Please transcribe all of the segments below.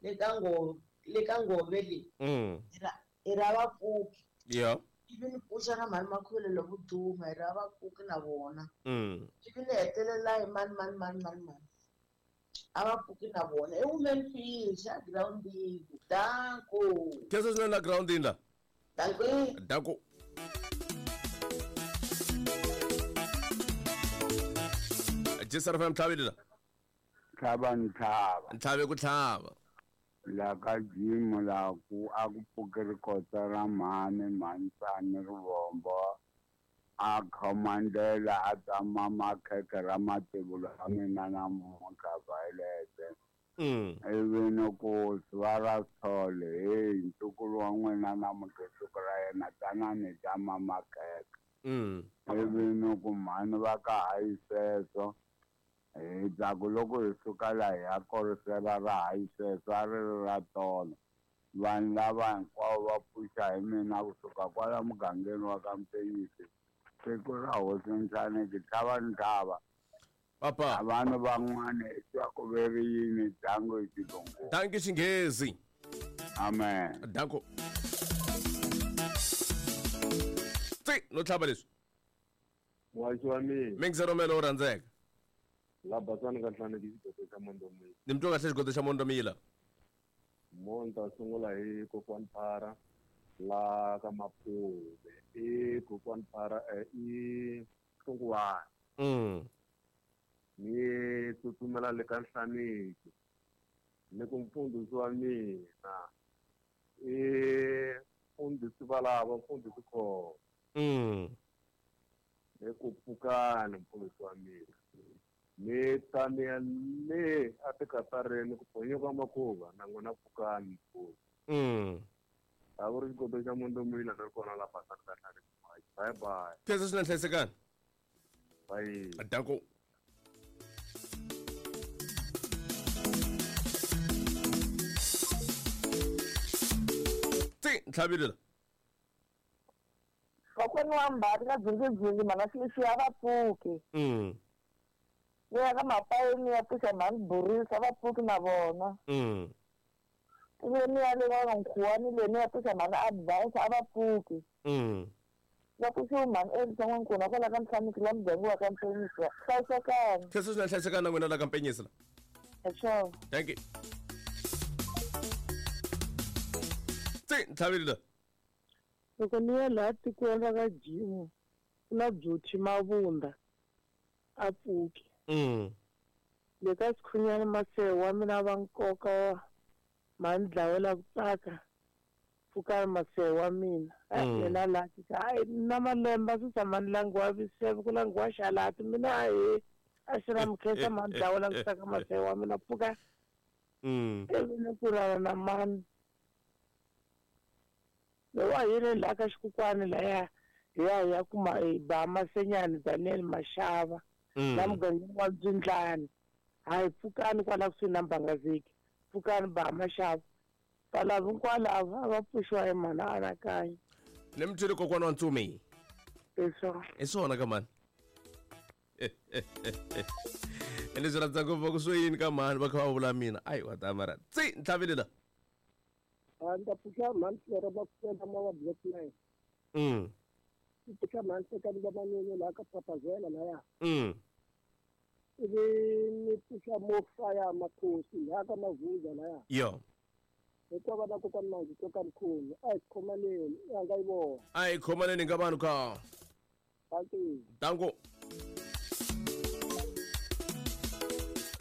Le ka ngove le ka ngove le. Hi ra vapfuki. Yeah. Ivi ni pfuxa na mhani Makhuvele lovo duma hi ra vapfuki na vona. Ivi ni hetelela hi mani mani mani mani mani. A va pfuki na vona. I women fish a girawundini. Danko. Khensa swinene la girawundini la. Danko. Danko. Jisara FM tlhavile la. Tlhava ntlhava. Ntlhave ku tlhava. La ka Jim la ku a ku pfuki rikotsa ra mhani mhantsani rivombo a khomandela a tama makhekhe ra mativula ya mina namuntlha Violet. Ivi ni ku va ra Sithole heyi ntukulu wa n'wina namuntlha siku ra yena tanani hi tama makhekhe. Ivi ni ku mhani va ka hayi sweswo hi tsaku loko hi suka la hi ya korisela ra hayi sweswo a ri ri ra tolo vanhu lava hinkwavo va pfuxa hi mina kusuka kwala mugangeni wa ka Mpenyisi siku ra hosi Nhlaneki tlhava ntlhava Papa. Vanhu van'wana i twa ku ve ri yini dango hi xilungu. Danki xinghezi. Amen. Danko. Tsi, no tlhava leswi. Muhaxi wa mina. Mingise Romelo wo rhandzeka. La basani ka Nhlaneki xigodo xa Mondomila. Ni mi twa kahle xigodo xa Mondomila. Mo ni ta sungula hi kokwani Phara la ka Maphuve. I kokwani Phara i Hlungwani. Ni tsutsumela le ka Nhlaneki ni ku mfundhisi wa mina i mfundhisi valava mfundhisi Khombo. Ni ku pfukani mfundhisi wa mina ni ta ni ya le a tikatareni ku phonyoka makhuva na n'wina pfukani mfundhisi. A ku ri xigodo xa Mondomila ni ri kona la Basani ka Nhlaneki. Bye bye. Khensa swinene hlayisekani. Bye. Danko. Tsi, ntlhavile la. Kokwani wa Mbhati na Dzundzundzundu mhana Silisiya a va pfuki. Ni ya ka Mapayeni ni ya pfuxa mhani Burisa a va pfuki na vona. Ivi ni ya le ka Nkhuwani le ni ya pfuxa mhani Advance a va pfuki. Va pfuxiwe mhani Elisa N'wankuna kwala ka Nhlaniki la muganga wa ka Mpenyisi. Hlayisekani. Khensa swinene hlayisekani na n'wina la ka Mpenyisi la. Hi swona. Thank you. Tsi, ntlhavile la. Loko ni ya laha tikweni ra ka Jimu ku na Beauty Mavunda a pfuki. Le ka Sikhunyana Masehe wa mina va nkoka mhani dlawela ku tsaka pfukani Masehe wa mina. Yena la ti ka hayi na malembe a swi tshama ni langiwa viseve ku langiwa xalati mina ahe a xi ra mukhensa mhani dlawela ku tsaka Masehe wa mina pfuka. Ivi ni ku rana na mani. Lowa hi le laha ka xikukwani laya hi ya hi ya kuma hi ba Masenyani Daniel Mashava la mugangeni wa Mbyindlani. Hayi pfukani kwala kusuhi na Mbangaziki. Pfukani ba Mashava. Valava hinkwalava a va pfuxiwa hi mhani Anakanya. Ni mi twile kokwana wa Ntsumi. Hi swona. Hi swona ka mhani. Ene swi rhandza ngopfu va ku swo yini ka mhani va kha va vula mina. Ayi wa ta mara. Tsi, ntlhavile la. A ni ta pfuxa mhani Flora va pfuxela ma wa Black Line. Ni pfuxa mhani Tekani va Manyunyu laha ka Papazela laya. Ivi ni pfuxa Mofaya Makhosi laha ka Mavuza laya. Yo. Hinkwavo va kokwani Manzi Tsoka Mkhulu. A hi khomaneni, i hanga yi vona. A hi khomaneni ka vanhu ka. Danko. Danko.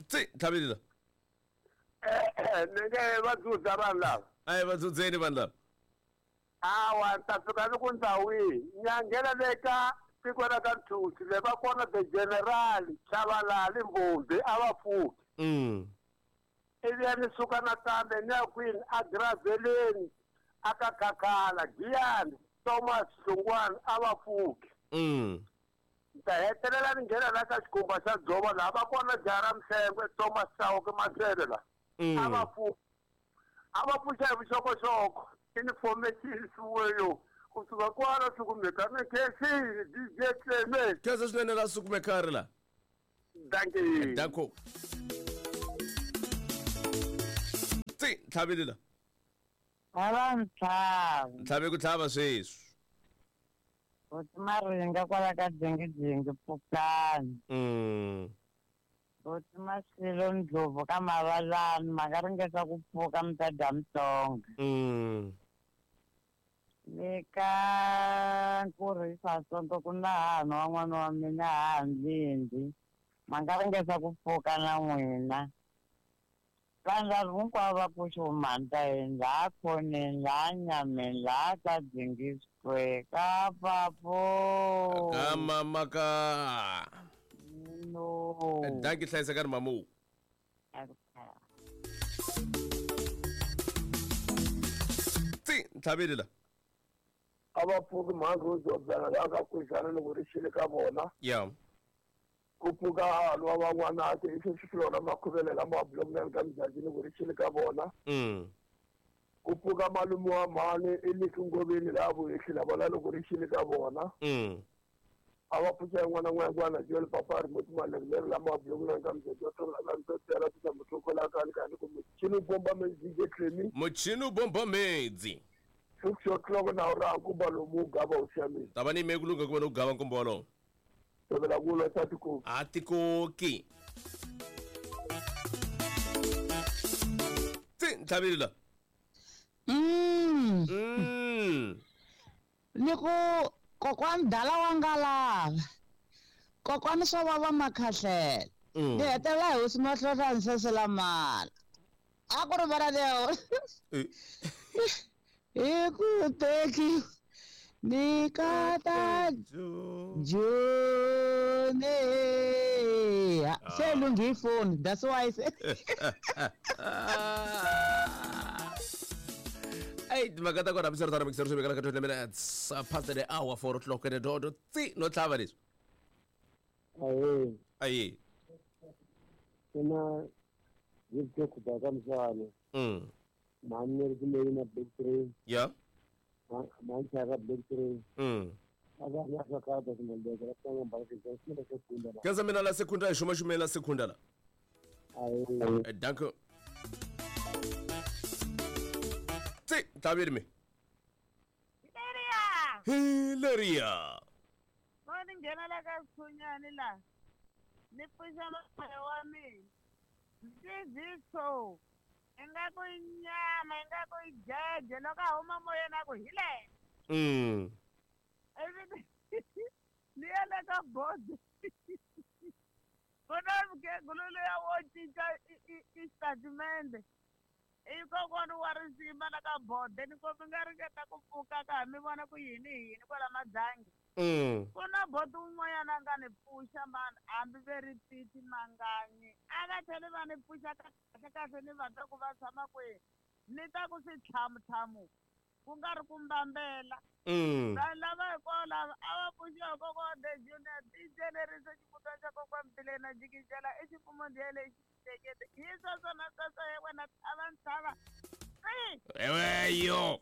Tsi, ntlhavile la. Ni nge va dzudza vanhu lava. A hi va dzudzeni vanhu lava. Awa, ni ta fika ni ku ndhawu yihi. Ni ya nghena le ka tiko ra ka Nthusi, le va kona the general Chabalala Mbombi a va pfuki. Ivi ya ni suka nakambe ni ya kwini a Graveleni a ka Khakhala Giyani Thomas Hlungwani a va pfuki. Ni ta hetelela ni nghena la ka xikhumba xa Dzovo laha va kona jaha ra Mhlengwe Thomas Chauke Masele la. A va pfuki. A va pfuxa hi vuxokoxoko information yo kusuka kwala sukumekana khensini DJ Clement. Khensa swinene la sukumekari la. Dankie. Danko. Tsi, Tsi ntlhaveli la. Ava ntlhava. Ntlhave ku tlhava sweswi. Hosi Maringa kwala ka dzingidzingi pfukani. Hosi Masilo Ndlovu ka Mavalani ma nga ringeta ku pfuka mi ta dya Mutsonga. Le ka Nkurhisa Sonto ku na hahani wa n'wana wa mina hahani ma nga ringeta ku pfuka na n'wina. Vanhu lava hinkwavo va pfuxe mhani ta yini laha khoneni laha nyameni laha ka Dzingi Square ka papo. Ka mama ka. No. Dankie hlayisekani mamu. Tsi ntlhaveli la. A va pfuki mhani Rose wa byala la ka Kwizana loko ri xile ka vona. Yeah. Ku pfuka hahani wa van'wanati i sweswi swilona makhuvele lama block nine ka Mudyaji loko ri xile ka vona. Ku pfuka malume wa mhani i Liki Ngoveni laha Vuhehli la vona loko ri xile ka vona. A va pfuxa yin'wana na n'wana Joel Papa remote Malengeleri lama block nine ka Mudyaji wa tlhela la Ntsotela tisa muthokola ka ka ni ku muchini bomba medzi DJ Clemi. Muchini bomba medzi. 6 o'clock na ura nkumba lomu gava u xamile. Ta va ni me ku lungha ku va no gava nkumba wolowo. Tovela ku lwa sa tikoki. A tikoki. Tsi ntlhaveli la. Ni ku kokwani dala wa ngalava. Kokwani swa vava makhahlela. Ni hetelela hi hosi Mahlonhlani sesela mala. A ku ri vana leo. Hi ku teki ni kata June. Se lunghi phone that's why I said. Hey, timhaka ta kona hambiswiritano mixero swi vekela ka 20 minutes past the hour 4 o'clock and dodo tsi no tlhava leswi. Aye. Aye. Kuna yibyo kubaka msana. Mani ri leyi na big 3. Yeah. Mani chaka big 3. Ava na ka ka ta kumbe ka ta ngamba ka ka sekunda la. Kaza mina la sekunda hi xuma xumela sekunda la. Aye. Danko. Tsi ntlhaveli me. Hileria. Hileria. Mani nghena la ka Sikhunyani la. Ni pfuxa moya wa mina. Ntiyiso. Ingaku i nyama, ingaku i jeje loko a huma moyeni a ku hi le. Ivi ni ya le ka board. Ku na mukhegulu luya wo cinca i xitatimende. I kokwana wa risima la ka board ni ku mi nga ringeta ku pfuka ka ha mi vona ku yini hi yini kwala Madzangi. Ku na board un'wanyana a nga ni pfuxa mani hambi ve ri Titi Manganyi. A va tlheli va ni pfuxa kahle kahle ni va twa ku va tshama kwihi. Ni ta ku switlhamutlhamu ku nga ri ku mbambela. Vanhu lava hinkwavo lava a va pfuxiwa hi kokwana the junior DJ leri se xivutwa xa kokwana Mbilena jikijela i xifumo ndiye lexi tekete. Hi sweswo na sweswo he wena a va ntlhava. Eweyo.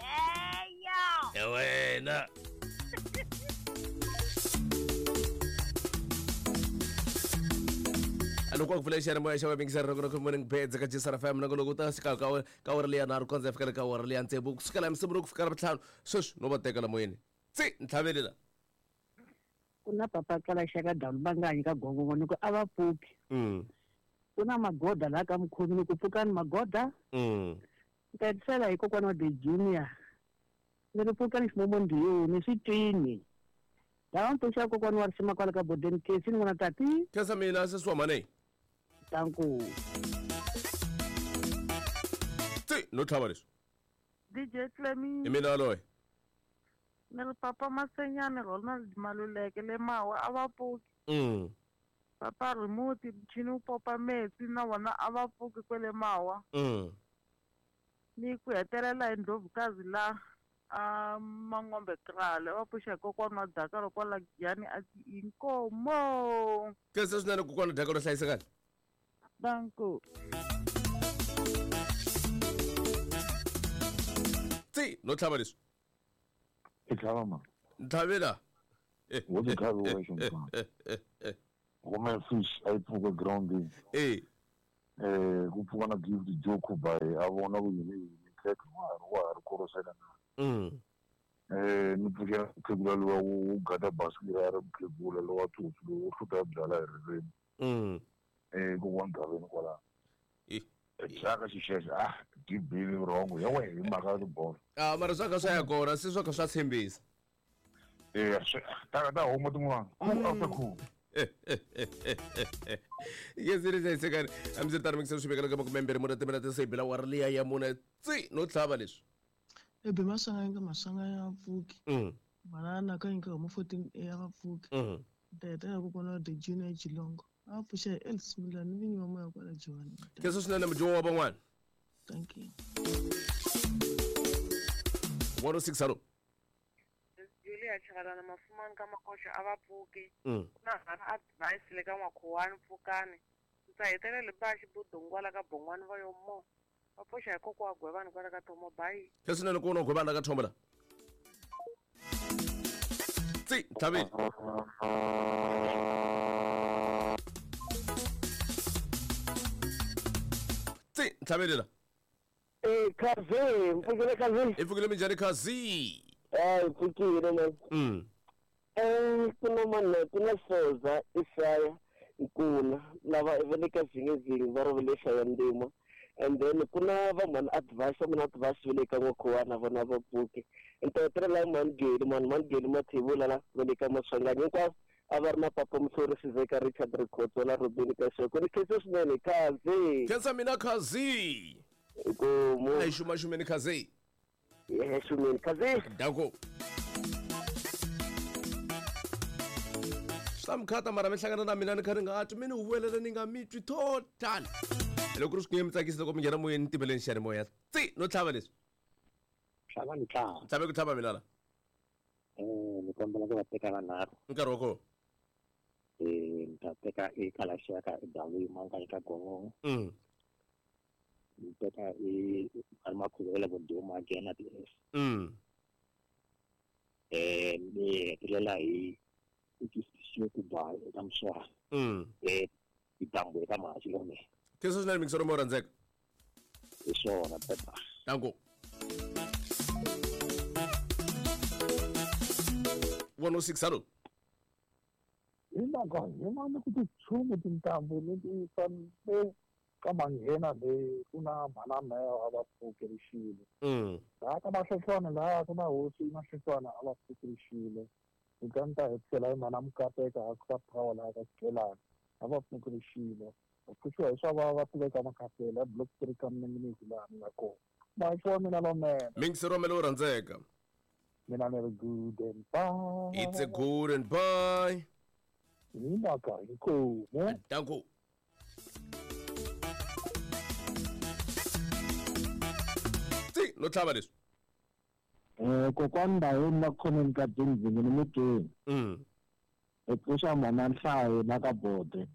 Eyo. Ewena. Loko ku pfula xiyanimoya xa vavingisa ri ku morning beds ka Jisara FM na loko ta fika ka awara leya nharhu kondza fika ka awara leya tsevu ku sukela Musumbunuko ku fika Ravuntlhanu sweswi no va teka la moyeni tsi ntlhaveli la. Ku na papa kala xaka dalu banganyi ka gongongo ni ku a va pfuki. Ku na magoda laha ka mukhomi ni ku pfukani magoda. Ni ta hetisela hi kokwana wa the junior. Ni ri pfukani ximomo ndiyoni swi twini. Lava mi pfuxa kokwana wa risima kwala ka bodeni kesi ni n'wana tati. Khensa mina sesi wa mhani. Danko. Tsi no tlhava leswi. DJ Clemi. I mina loyi. Ni ri papa Masenyani Ronald Maluleke le Mawa a va pfuki. Papa remote muchini wu popa metsi na wona a va pfuki kwele Mawa. Ni ku hetelela hi Ndlovukazi la a Mangombe Krale va pfuxa hi kokwana wa Dakaro kwala Giyani a ti inkomo. Khensa swinene kokwana Dakaro hlayisekani. Danko. Tsi no tlhava leswi. I tlhava ma. Ntlhavela. Wo ti tlhavi wexe mfana. Woman fish a yi pfuka groundini. Ku pfuka na Gift Joe Khubayi a vona ku yini yini khekhe wa ha ri korosela na. Ni pfukela mukhegula luwa wo gada basikiri a ri mukhegula lowa tsotsi lowu wo hluta byala hi ririmi. Kokwana Gaveni kwalano. Xaka xixexo dyi bile vurhongo ya wehe hi mhaka ya tibolo. Mara swa kha swa ya kona se swa kha swa tshembisa. Ta huma tin'wana. Cool after cool. Yesiri hlayisekani hambiswiritano mikisa swi vekela ka makumembirhi mune timinete se hi bela wari liya ya mune tsi no tlhava leswi. Ebe Maswanganyi ka Maswanganyi a va pfuki. Manana ka nyika homu 14 A a va pfuki. Ta hetelela kokwana wa The Junior Geelong. A va pfuxa hi Elvis Milani ni vinyi va moya kwala Joni. Khensa swinene mudyoho wa van'wana. Thank you. 106 hello. Julia Chakalana Mafumani ka Makoxa a va pfuki. Ku na hana advice le ka N'wakhuwani pfukani. Ndzi ta hetelela ba xibudungwala ka Bongwani va yo mo. Va pfuxa hi kokwa wa Gwevani kwala ka Thomo bye. Khensa swinene ku na Gwevani la ka Thomo la. Tsi ntlhaveni. Tsi ntlhaveni la. Khazi, mpfukile Khazi. I pfukile minjhani Khazi? Mpfukile man. Ku na mani ku na Soza Isaya Nkuna lava va le ka Zingizingi va ri va le Shayandima. And then ku na va mhani advice va mhani advice va le ka N'wakhuwana vona va pfuke. Ni ta hetelela hi mhani Geli mhani Geli Mathebula la va le ka Maswanganyi hinkwavo a va ri na papa Muhlori Sizeka Richard Rikhotso na Robin Kasheko. Ni khensa swinene Khazi. Khensa mina Khazi. Inkomu. A hi xumaxumeni Khazi. Ye xumeni Khazi. Danko. Swi ta mi khata mara mi hlangana na mina ni kha ni nga twi mi ni huwelela ni nga mi twi total. Loko ri swi nge mi tsakisi loko mi nghena moyeni ni timeleni xiyanimoya. Tsi no tlhava leswi. Tlhava ni tlhava. Tlhave ku tlhava mina la. Ni kombela ku va teka vanharhu. Nkarhi wa kona. Ni ta teka eKalaxaka eDawu Manganyi ka Gongongo. Ni teka Makhuva la Voduma again at S. Ni hetelela hi Kuba eka Mswara. Itambo eka Mahachi lome. Khensa swinene mingisoro mo rhandzeka. Hi swona Pepa. Danko. 106 hello. Hi mhaka hi mani ku tichumu tintambu leti fanele ka manghena leyi ku na mhana meho a va pfukerixile. Laha ka Mahlehlwana laha ku na hosi Mahlehlwana a va pfukerixile. Hi ta hetisela hi mhana Mukateka a ka power laha ka Xikelani a va pfukerixile. Va pfuxiwa hi swa va va tiveka Makapela block 3 ka Mninginisi laha ni nga kona. Mahachi wa mina lonene. Mingisero wa mina lowu rhandzeka. Mina ni ri good and bye. It's a good and bye. Hi mhaka inkomu. Danko. Tsi no tlhava leswi. Kokwani Ndhawini la khomeni ka Dzingidzingi ni mutweni. Hi pfuxa mhana Nhlayo la ka Bode.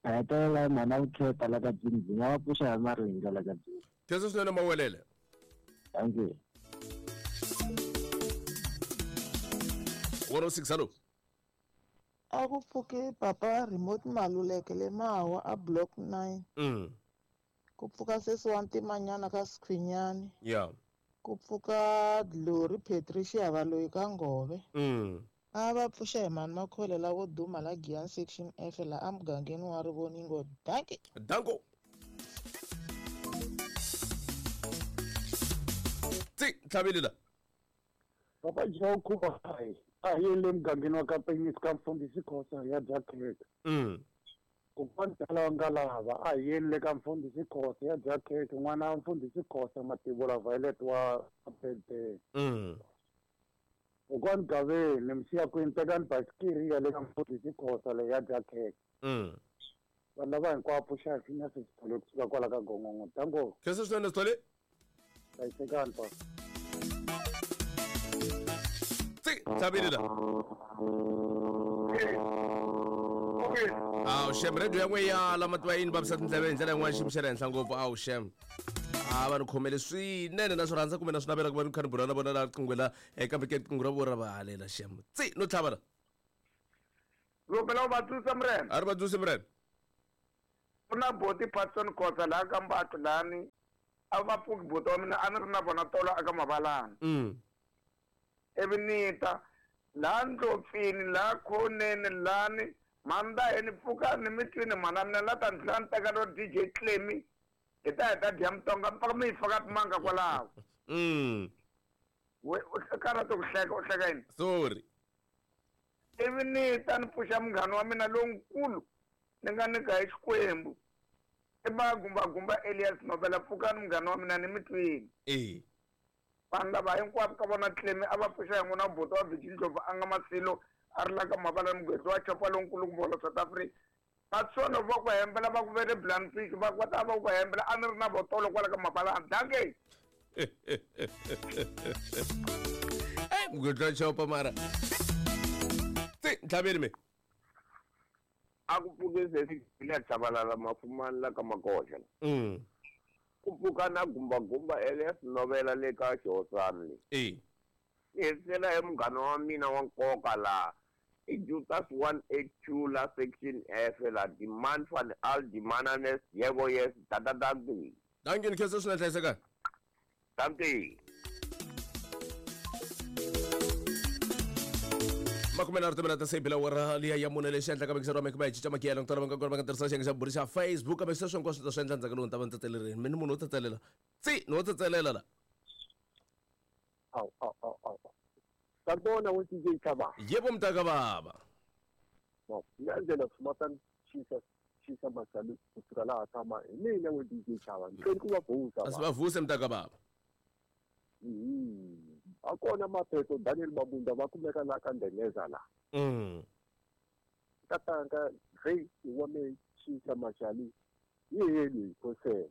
A hetelela hi mhana Vukheta la ka Dzingidzingi a va pfuxa hi Maringa la ka Dzingidzingi. Khensa swinene Mawelele. Thank you. 106 hello. A ku pfuki papa remote Maluleke le Mawa a block 9. Ku pfuka sesi wa Ntimanyana ka Sikhwinyani. Ku pfuka Glory Patricia Valoyi ka Ngove. A va pfuxa hi mhani Makhole la vo duma la Giyani section F la emugangeni wa Rivoningo. Danki. Danko. Tsi ntlhaveli la. Papa Joe Khuba a hi le mugangeni wa ka Penyisi ka Mfundhisi Khosa ya dya khekhe. Kokwana Dala wa Ngalava a hi yeni le ka Mfundhisi Khosa ya dya khekhe n'wana wa Mfundhisi Khosa Mativula Violet wa Pete. Kokwana Gaveni Msiyakwini tekani basikiri ya le ka Mfundhisi Khosa leyi ya dya khekhe. Vanhu lava hinkwavo pfuxa hi finya sesithole kusuka kwala ka Gongongo. Danko. Khensa swinene Sithole. Hlayisekani pa. Tsi ntlhaveli la. Awu xem radio ya n'we ya la mativa yini vavisa tindleve hi ndlela yin'wana xiyimo xa le henhla ngopfu. Awu xem. A va ni khomele swinene na swi rhandza kumbe na swi navela ku va ni kha ni bula na vona la riqingho la kambe ke riqingho ra vona ra va halela xem. Tsi no tlhava la. Lopela u va tsundzuxa Murena. A ri va tsundzuxe Murena. Ku na boti Patson Khosa laha ka Mbatlo lani a va pfuki buti wa mina a ni ri na vona tolo aka Mavalana. Ivi ni ta laha Ndlopfini laha Khoneni lani Mandaheni pfukani mi twini mhana mina la ta ni tlhela ni teka ro DJ Clemmy hi ta hi ta dya mutonga mi pfaka mi yi faka timanga kwalaho. We u karhata ku hleka u hleka yini? Sorry. Ivi ni ta ni pfuxa munghana wa mina lonkulu ni nga nyika hi Xikwembu i Magumbagumba Elias Nobela pfukani munghana wa mina ni mi twini. Vanhu lava hinkwavo ka vona Clemmy a va pfuxa hi n'wina buti wa Virgin Ndlovu a nga Masilo a ri la ka Mavalani mugwedzi wa chopa lonkulu kumbe wa la South Africa. Vatsongo va ku hembela va ku ve le Blanfish va va ta va ku hembela a ni ri na votolo kwala ka Mavalani. Dankie. Ey mugwedzi wa chopa mara. Tsi ntlhaveni me. A ku pfuke sesi le Tshabalala Mafumani la ka Makoxa. Ku pfuka na Gumbagumba Elias Novela le ka Xihosana le. Ni hetisela hi munghana wa mina wa nkoka laha i Jutas 182 la section F la demand van al demananes yebo yes tata dankie. Dankie ni khensa swinene hlayisekani. Dankie. 23 timinete se bela wara liya ya mune lexi endlaka mixero wa mekuma hi cinca makiyelo ku tala va nga kona va nga tirhisa xiyenge xa buri xa Facebook kambe sweswo hinkwaswo ta swi endla ndzhaku lowu ni ta va ni tsetelerini mi ni munhu wo tsetselela tsi ni wo tsetselela la. Awu awu awu awu. Sanibona we DJ Thaba. Yebo mntaka baba. No, ngiyandlela sumatan chisa chisa masali kusuka laha tshama hi mina we DJ Thaba. Ngicela kuvavusa. Asivavuse mntaka baba. Akona mapheto Daniel Mabunda va kumeka la ka Ndengeza la. Tatanga rei wa me chisa mashali yeli kose.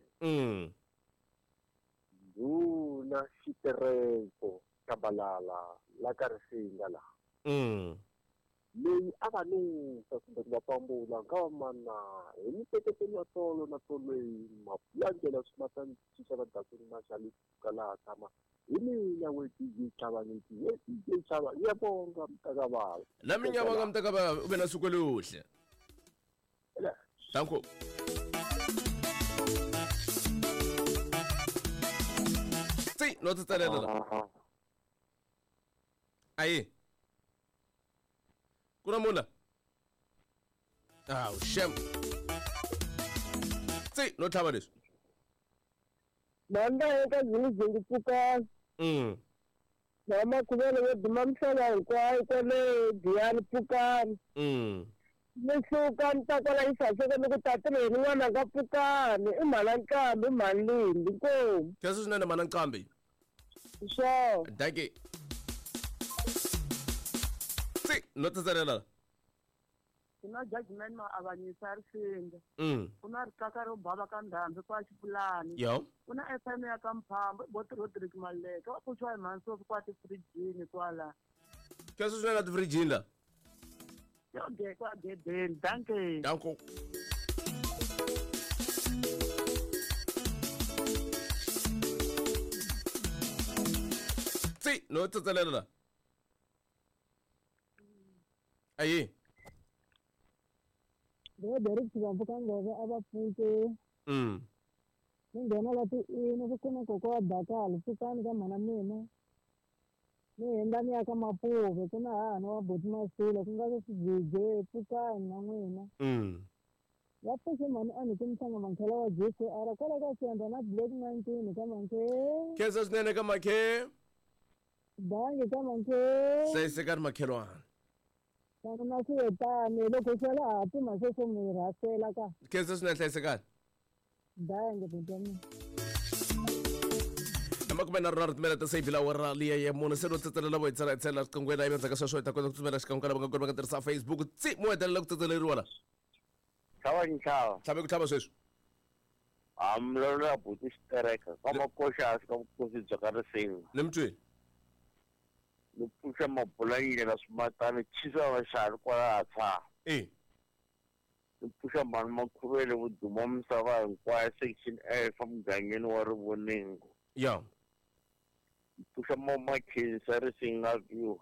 Nduna xitereko Kabalala la ka Risinga la. Leyi a va nusa kumbe ku va pambula nga mana hi miteketelo ya tolo na tolweni mapulangela swimatani chicha va dakuni mashali ka laha tshama hi mina we DJ Thaba ngithi we DJ Thaba ngiyabonga mntakababa. Nami ngiyabonga mntakababa ube na suku oluhle. Danko. Tsi no tsetselela la. Ayi. Ku na munhu la. Awu shem. Tsi no tlhava leswi. Manda eka zingizungu pfuka. Na makhuvelo yo duma misava hinkwayo kwale Giyani pfukani. Ni suka ni ta kwala Isaseka ni ku tatirheni n'wananga pfukani i mhana Nqambi i mhani Lindi inkomu. Khensa swinene mhana Nqambi. Sure. Dankie. Tsi no tsetselela. Ku na judgment ma avanyisa Risinga. Ku na rixaka ro bava ka Ndhambi kwa Xipulani. Ku na FM ya ka Mphambo boti Rodrick Maleka va pfuxiwa hi mhani Sophie kwa tifrijini kwala. Khensa swinene la tifrijini la. Yo ge kwa gedeni. Dankie. Danko. Tsi no tsetselela la. Ayi. Derek Xivambuka Ngove a va pfuke. Ni nghena la tiini ku kuma kokwa wa Dakala pfukani ka mhana mina. Ni hundza ni ya ka Mapuve ku na hahani wa buti Masilo ku nga swi pfukani na n'wina. Va pfuxe mhani a ni ku mhlanga mankhela wa GCR kwala ka Siyandza na Black 19 ka Mankhe. Khensa swinene ka Makhe. Dangi ka Mankhe. Hlayisekani makhelwana. Na swi loko sala ha pima sweswo mi rhasela ka. Khensa swinene hlayisekani. Dangi buti wa mina. 23 timinete se bela wara liya ya mune se no tsetselela vo hi tsela hi tsela riqingweni ivi endzhaku ka sweswo hi ta kota ku tsutsumela xikan'we ka lava nga kona va nga tirhisa Facebook tsi mo hetelela ku tsetseleriwa la. Tlhava ntlhava. Tlhave ku tlhava sweswi. Amlola buti xitereka ka makoxa hansi ka vukosi bya ka Risinga. Ni mi twini. Ni pfuxa mabulanyile swimatani chisa vaxavi kwalaha tshaha. Ni pfuxa mhani Makhuvele vuduma misava hinkwayo section F emugangeni wa Rivoningo. Ya. Ni pfuxa Makhensa Risinga view.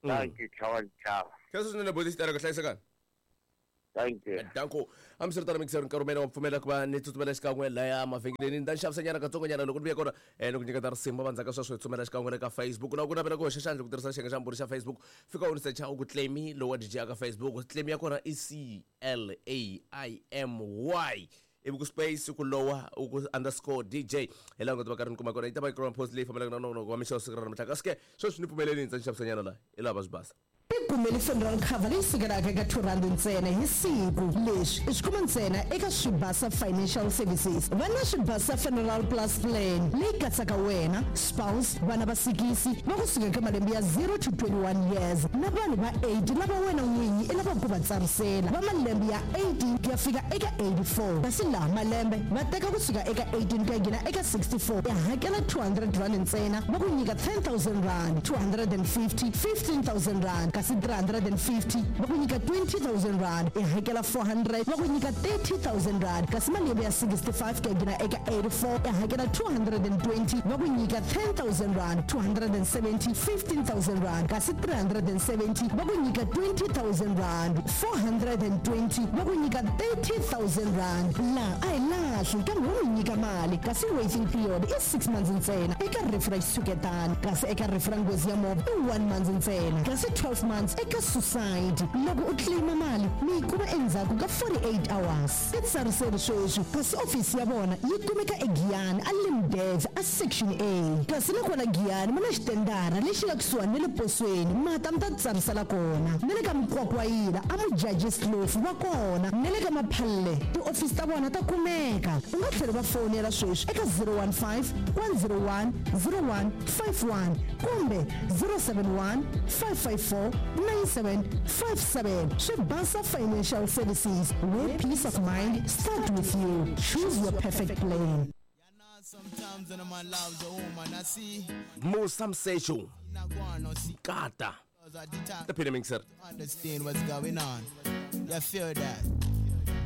Dankie tlhava ntlhava. Khensa swinene buti xitereka hlayisekani. Thank you. Danko. Hambiswiritano mixer nkarhi wumene wa pfumela ku va ni tsutsumela xikan'we laya mavhengeleni ni ta xavisanyana katsongonyana loko ni vuya kona ni ku nyiketa risimu vandzaka sweswo hi tsumela xikan'we le ka Facebook. Loko ku navela ku hoxa xandla ku tirhisa xiyenge xa mbhuri xa Facebook, fika u ni secha u ku Claimy lowa DJ aka Facebook. Claimy ya kona i C L A I M Y ivi ku space ku lowa u ku underscore DJ, hi laha u nga ta va karhi ni kuma kona. Yi ta va yi kona post leyi fambelaka na nongonoko wa mixo wa siku ra namuntlha. Kasi ke sweswi ni pfumeleni ni ndza ni xavisanyana laha hi laha va swi basa. Tikumeli funeral cover leyi sukelaka eka R2 ntsena hi siku. Leswi i swi kuma ntsena eka Swibasa Financial Services. Va na Swibasa Funeral Plus Plan leyi katsaka wena, spouse, vana va sikisi va ku suka eka malembe ya 0 to 21 years na vanhu va 80 lava wena n'winyi i lavaka ku va tsarisela va malembe ya 18 ku ya fika eka 84. Kasi laha malembe va teka ku suka eka 18 ku ya nghena eka 64, i hakela R200 ntsena va ku nyika R10,000, 250, R15,000 kasi 350 va ku nyika R20,000, i hakela 400 va ku nyika R30,000 kasi malembe ya 65 ku ya nghena eka 84 i hakela 220 va ku nyika R10,000, 270, R15,000 kasi 370 va ku nyika R20,000, 420 va ku nyika R30,000. Laha a hi lahli kambe wo mi nyika mali, kasi waiting period i 6 months ntsena eka rifu ra xitshuketana, kasi eka rifu ra nghozi ya movha i 1 month ntsena, kasi 12 months eka suicide. Loko u claima mali mi yi kuma endzhaku ka 48 hours. Titsariseli sweswi, kasi ofisi ya vona yi kumeka eGiyani a Limdev a Section A, kasi na kona Giyani ma na xitendara lexi nga kusuhani na le posweni, mata mi ta titsarisela kona. Na le ka Mukwakwayila a Mujajis Kloof va kona, na le ka Maphalle tiofisi ta vona ta kumeka. U nga tlhela va fowunela sweswi eka 015 101 0151 kumbe 071 554 9757. Swibasa Financial Services, where peace of mind start with you. Choose your perfect plan. Sometimes when a man loves a woman, I see Musa Msechu Kata at the time the Peter Mixer. Understand what's going on. You feel that?